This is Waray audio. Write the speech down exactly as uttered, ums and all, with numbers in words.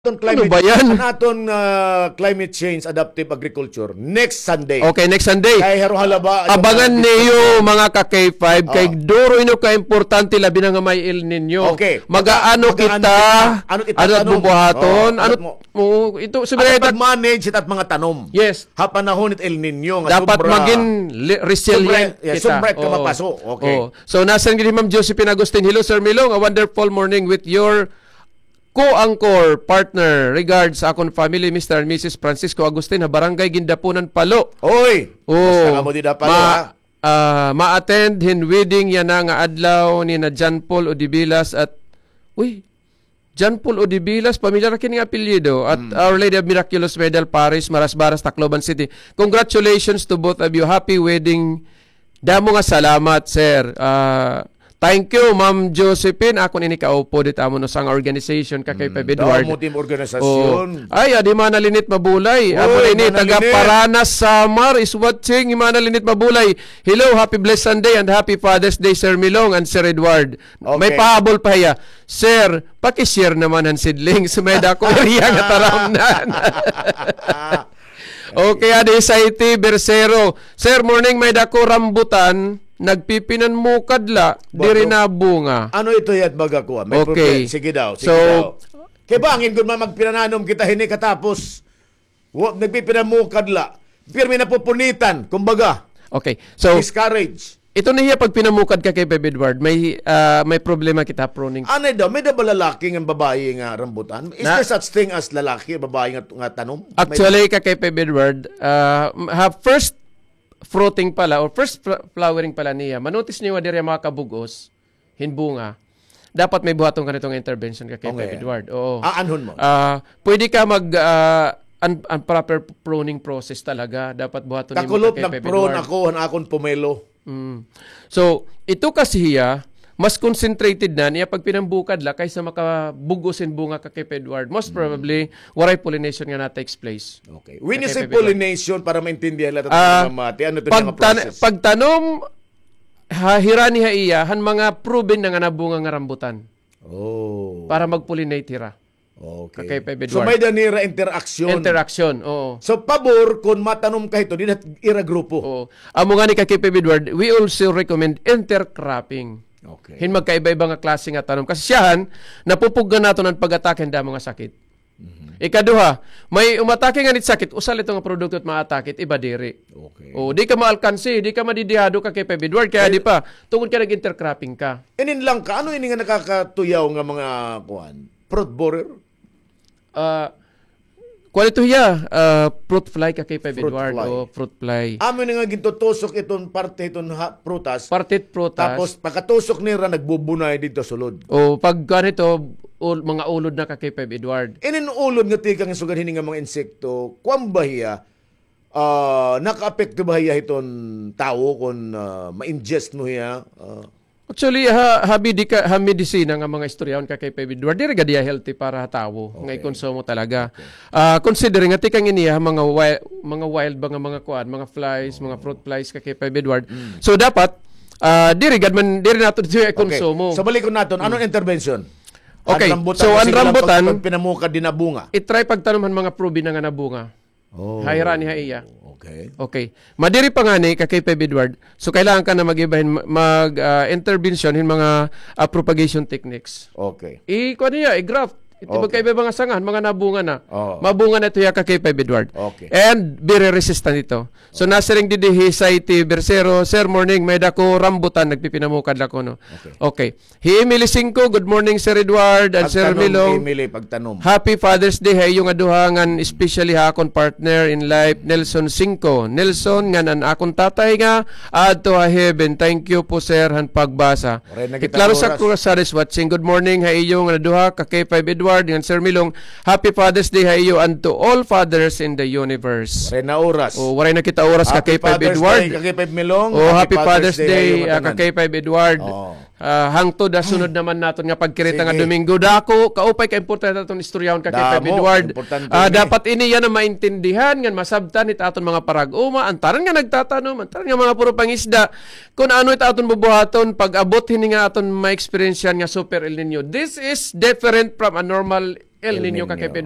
aton climate, ano ba yan? An aton, ah, climate change, adaptive agriculture, next Sunday. Okay, next Sunday. Kay haro halaba, abangan niyo, mga ka-K five, kay duro ino ka importante, labi na nga may El Nino. Okay. Mag-aano kita, ano it bubuhaton, ano, ito, ano pag-manage it at mga tanom. Yes. Ha panahon it El Nino nga dapat magin resilient kita. Sobra it kamapaso. Okay. So, nasiring gid hi Ma'am Josephine Agustin, "Hello, Sir Milong, a wonderful morning with your co-anchor partner. Regards sa akon family, Mister and Missus Francisco Agustin, ha Barangay Guindapunan, Palo." Oy! Basta kamo dida, Palo, ha? Ah, ma-attend hin wedding yana nga adlaw nina John Paul Odibilas at, uy, John Paul Odibilas, pamilyar kini nga apelyido, at Our Lady of Miraculous Medal Parish, Marasbaras, Tacloban City. Congratulations to both of you. Happy wedding. Damo nga salamat, sir. Ah, thank you, Ma'am Josephine. Akon ini kaupod it amon usa nga organization, ka K five Edward. Damo tim organisasyon. Ay, adi, Mana Linit Mabulay. Amo ini, taga Paranas, Samar, is watching. Mana Linit Mabulay. Hello, happy blessed Sunday and happy Father's Day, Sir Milong and Sir Edward. May pahabol pa hiya. Sir, paki-share naman han seedlings. May dako area nga taramnan. Okay, adi hi Saiti Bersero. Sir, morning, may dako rambutan, nagpipinanmukad la, diri nabunga. Ano ito yat baga kuan? May problem. Sige daw, sige daw. Kay bangin gud man magpinananom kita hini katapos, wa, nagpipinamukad la. Pirmi napupunitan, kumbaga. Okay. So, discourage. Ito na hiya pagpinamukad, ka K five Edward. May, ah, may problema kita, pruning. Ano daw? May da ba lalaki ngan babayi nga rambutan? Is there such thing as lalaki, babayi nga, nga tanom? Actually, ka K five Edward, ah, ha first fruiting pala or first fl-, flowering pala niya, ma-notice niyo nga diri makakabug-os hin bunga, dapat may buhaton ka nito nga intervention, ka K five Edward. Oo. Aanhon mo? Ah, pwede ka mag, ah, an, an proper pruning process talaga. Dapat buhaton nimo, ka K five Edward. Kakulop, nag-prune ako han akon pomelo. Mm. So, ito kasi hiya, mas concentrated na niya pagpinambukad la kaysa makabug-os hin bunga, ka K five Edward. Most probably, waray pollination nga na-takes place. Okay. When you say pollination, para maintindihan la ta mga mamati, ano ito nga process? Pagtanom, ha, hirani ha iya, han mga proven na nga nabunga nga rambutan. Oh. Para mag-pollinate hira. Okay. Ka K five Edward. So, may da nira interaction. Interaction, oo. So, pabor kon matanom ka hito, dinha ira grupo. Oo. Amo ngani, ka K five Edward, we also recommend intercropping. Okay. Hin magkaiba-iba nga klase nga tanom. Kasi siyahan, napupuggan naton an pag-atake hin damo nga sakit. Ikaduha, may umatake ngani it sakit, usa la ito nga produkto it maatake it iba diri. Okay. O, di ka maalkansi, di ka madidihado, ka K five Edward, kay adi pa, tungod kay nag-intercropping ka. Inin lang ka, ano ini nga nakakatuyaw nga mga, kuan, fruit borer? Ah, kuan ito hiya, ah, fruit fly, ka K five Edward, o fruit fly. Amo ini nga gintutusok iton parte iton prutas. Parte it prutas. Tapos pagkatusok nira, nagbubunay didto sulod. O, pag kuan ito, mga ulod na, ka K five Edward. Inin ulod nga tikang sugad hini nga mga insekto, kuan ba hiya, ah, nakaapekto ba hiya hiton tawo kon, ah, ma-ingest mo hiya? Ah. Actually, ha, ha medika-, ha medisina nga mga istoryahan, ka K five Edward, diri gad hiya healthy para ha tawo nga ikonsumo talaga. Ah, considering nga tikang ini ha mga wi-, mga wild ba nga mga kuan, mga flies, mga fruit flies, ka K five Edward. So, dapat, ah, diri gad man, diri naton ito ikonsumo. So, balikon naton, ano an intervention? Okay, so, an rambutan, pag pinamukad, di nabunga, i-try pagtanom han mga proven na nga nabunga. Oh. Hirani ha iya. Okay. Okay. Madiri pa ngani, ka K five Edward. So, kailangan ka na mag-iba hin, mag, ah, intervention hin mga, ah, propagation techniques. Okay. I-, kuan niya, i-graft. Ito, okay, magkaiba mga sanga, mga nabunga na. Oo. Mabunga na ito hiya, ka K five Edward. Okay. And very resistant ito. So, nasiring didi hi Saiti Bersero, "Sir, morning, may dako rambutan, nagpipinamukad la kuno." Okay. Okay. Hi Emily Singco, "Good morning, Sir Edward and Sir Milong. Emily, pagtanom. Happy Father's Day ha iyo nga duha, ngan especially ha akon partner in life, Nelson Singco. Nelson, ngan an akon tatay nga aadto ha heaven. Thank you po, sir, han pagbasa." Hi Clarissa Cruzades watching, "Good morning ha iyo nga duha, ka K five Edward ngan Sir Milong. Happy Father's Day ha iyo and to all fathers in the universe." Waray na oras. O, waray na kita oras, ka K five Edward. Happy Father's Day, ka K five Milong. O, happy Father's Day, ka K five Edward. Ah, hangtod ha sunod naman naton nga pagkirita nga Domingo. Dako, kaupay ka importante aton istoryahon, ka K five Edward. Damo, importante ini. Ah, dapat ini yana maintindihan, ngan masabtan hit aton mga parag-uma, an tanan nga nagtatanom, an tanan nga mga puro pangisda, kun ano it aton bubuhaton pag-abot hini nga aton ma-experience-an nga Super El Niño. This is different from a normal El Niño kay February.